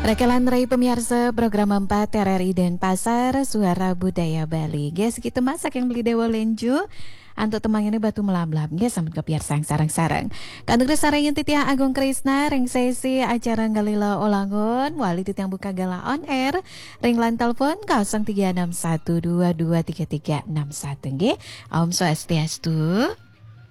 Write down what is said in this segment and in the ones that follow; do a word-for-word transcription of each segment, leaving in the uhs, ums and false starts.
Takelan rai pamiarsa program empat R R I Denpasar, Suara Budaya Bali. Nggih, segitu masak yang beli Dewa Lenju. Antuk temangane batu melablab. Nggih, sampun kepiarsang sareng-sareng. Kantuk sarengin titiang Agung Krisna, ring sesi acara Ngalila Olangun, wali titiang buka gala on air, ring line telepon kosong tiga enam satu dua dua tiga tiga enam satu. Nggih, Om Swastiastu.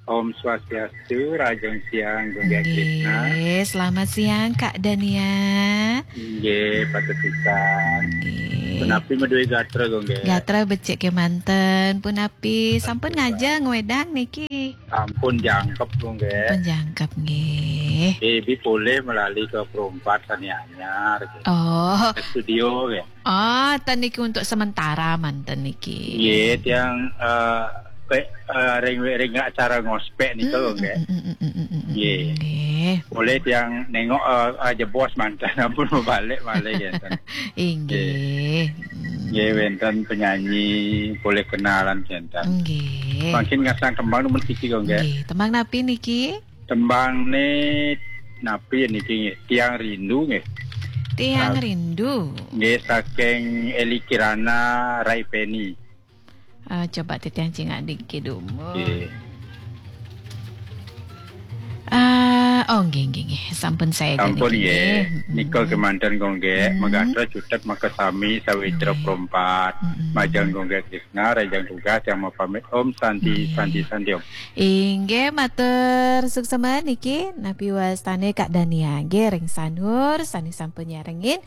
Om Swastiastu, Rahajeng Siang, Gung Gek Krisna. Nggih, selamat siang, Kak Dania. Nggih, patut pisan. Nggih. Punapi madué gatra, Gung Gek? Gatra becik kemanten. Punapi, sampun ngajeng wedang niki? Sampun jangkep, Gung Gek. Sampun jangkep, nggih. Ibi polih melali ke perumpat sane anyar, gitu. Oh. Ke studio, ya. Oh, ten niki untuk sementara manten niki. Nggih, tiang, eh, pe-, eh, ring, ring acara ngospek nika, Gung Gek. Mm, mm, mm, mm, mm, mm, mm, Nggih. Nggih. Boleh tiang nengok, eh, eh, jebos manten, ampun mau balik malih, ngenten. Inggih. Nggih. Mm. Nggih, wenten penyanyi, boleh kenalan, ngenten. Nggih. Mangkin ngasang tembang nemen siki, Gung Gek. Nggih, tembang napi niki? Tembang ne napi niki nggih? Tiang Rindu nggih. Tiang Sa-, Rindu. Nggih, saking Eli Kirana, Rai Peni. Ah, coba titiang cingak dikit dulu. Nggih. Ah, oh, nggih, nggih, nggih. Sampun saya Sampun, niki, nggih. Nggih. Mm-mm. Nika kemanten, Gung Gek, Mm. magatra cutet makasami sawitra Nggih. Perumpat. Mm-mm. Majeng Gung Gek Krisna, Rahajeng Tugas, tiang mau pamit. Om Santi, Nggih. Santi, Santi, Om. Inggih, matur suksma niki, napi wastane Kak Dania nggih ring Sanur, sane sampun nyarengin.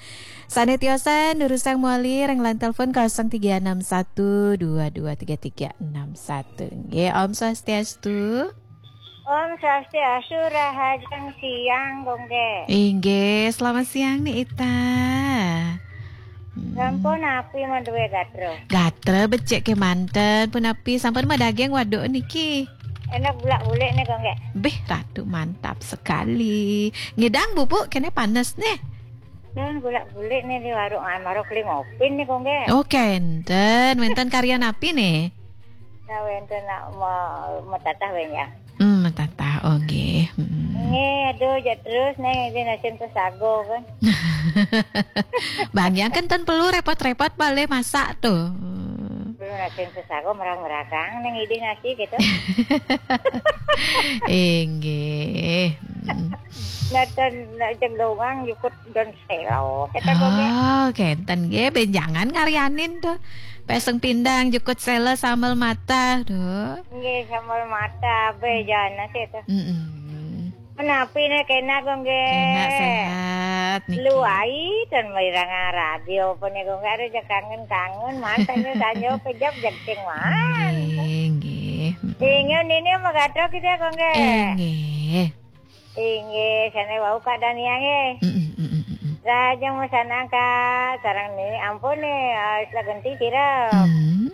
Sane tiosan, durusang mawali ring line telepon kosong tiga enam satu dua dua tiga tiga enam satu. Nggih, Om Swastiastu. Om Swastiastu, Rahajeng Siang, Gung Gek. Inggih, selamat siang, Ni Ita. Hmm. Sampun napi madué gatra? Gatra becik kemanten, punapi sampun madaging waduk niki? Enak bulak-bulik nih, Gung Gek. Bih, Ratu, mantap sekali. Ngidang bubuk kene panes nih. Dan bulak-bulik nih di warung Amaro keli ngopi nih, Gung Gek. Oh, kenten. Wenten karya napi nih? Nah, wenten nak ma-, matatah wenjang. Hmm, matatah, oh, nggih. Hmm. Nggih, aduh, jak terus nih, di nasin pesago kan. Bang, yang kenten perlu repot-repot balik masak tuh. Perlu nasin pesago merang-meragang nih, ngidih nasi gitu. Inggih. Hmm. Nonton, nak jeng doang, jukut dan selo. Kata Gung Gek. Oh, kenten nggih, benjangan ngaryanin tuh. Peseng pindang, jukut sela, sambel mata, tuh. Nggih, sambel mata, be, jana sih tuh. Mm-mm. Menapi nih, kena, Gung Gek. Kena sehat, niki. Lu ai, dan merirangan radio, apa nih, Gung Gek, ada je kangen-kangen, mantannya sanjo, pejap, jenting, man. Nggih, nggih. Mm-mm. Ingat ini, sama gatok kita, Gung Gek. Eh, nggih. Inggih, sane wau Kak Dania nggih. Mm-mm, mm-mm, mm-mm. Rahajeng masanang Kak, sareng niki ampun nih, eh, istilah genti sira. Mm.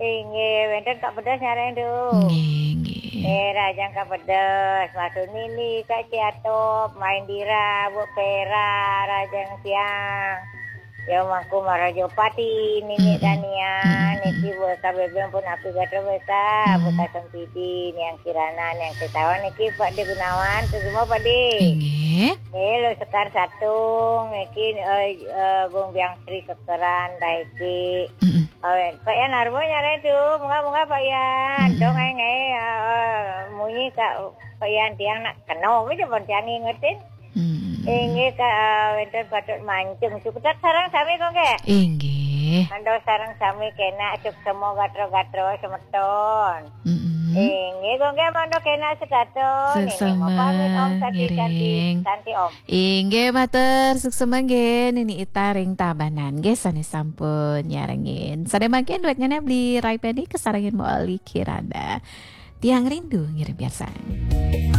Inggih, wenten Kak Pedas nyareng tuh. Nggih, nggih. Eh, rahajeng Kak Pedas, Mas Sunili, Kak Ciatop, Maindira, Bu Pera, rahajeng siang. Ya, Mangku Marajo Pati, Nini Mm-mm. Dania, Mm-mm. niki buat K B B pun api gatra besa, Mm. buat Sempidi, Niang Kirana, Niang Setawan, niki Pak De Gunawan, tu semua Pak De. Inggih. Eh, lo Sekar Satung, niki, eh, eh, Gung Biang Sri Kekeran, Daiki. Mm-mm. Awen, Pak Yan Arbo nyare tu, munga-munga Pak Yan, Mm-mm. dong ai ngai, eh, munyi Kak Pak Yan tiang nak kena, aja pun tiang ngingetin. Hmm. Inggih, Kak, eh, wenten patut mancung. Suksma sareng sami, Gung Gek. Inggih. Mangda sareng sami kena suksma gatra-gatra semeton. Mm-mm. Inggih, Gung Gek, mangda kena setata. Nini Suksma, mau pamit, Om, santi, santi, ngiring. Santi, Om. Inggih, matur suksma nggih, Nini Ita ring Tabanan nggih, sane sampun nyarengin. Sane mangkin duetnya beli Rai Peni kesarengin mau Oli Kirana. Tiang Rindu ngiring piarsang.